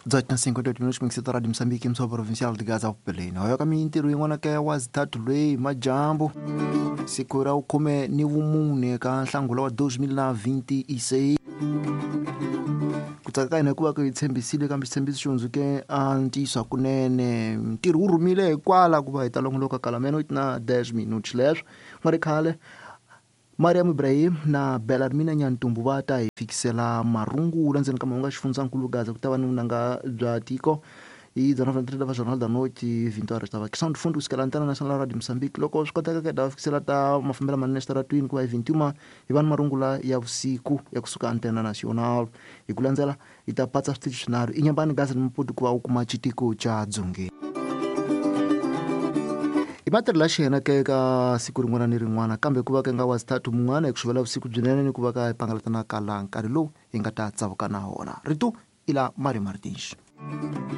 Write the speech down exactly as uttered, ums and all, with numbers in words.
dezoito na cinquenta e oito minutos mingiseta Radio Moçambique, emissora provincial de Gaza Pelena. Hoyo ka mintirho yin'wana ka wa zithathu loyi majambu siku ra khume ni vumune ka nhlangula wa dois mil na vinte e seis. Ku tsaka ka hina hikuva ku hi tshembisile kambe xitshembiso xi hundzuke a ntiyiso hakunene. Ntirho wu rhumile hikwala ku va hi ta longoloka kala meia-noite na dez minutos leswo. Ku nga ri khale Mariam Ibrahim na Belarmina Nyantumbu va ta hi fikisela marungula ndzeni ka mahungu ya xifundzankulu Gaza ku ta va ni vunanga bya tiko hi dezenove va Jornal da Noite vinte horas ta va Sound Fundo kusukela Antena Nacional Radio Moçambique. Loko swi koteka ka va fikisela ta mafambelo manene exitaratwini ku va hi vinte e uma hi va ni marungula ya vusiku ya kusuka Antena Nacional. Hi ku landzela hi ta patsa switichi swinharhu Inhambane, Gaza ni Maputo ku va u kuma xitiko xa Dzongeni. I matirhelo ya xiyena ke ka siku rin'wana ni rin'wana kambe ku va ka nga wa zithathu mun'wana hi ku xuvela vusiku byinene ni ku va ka hi pangalatana ka laha nkarhi lowu hi nga ta tsavuka na wona. Rito i la Mario Martins.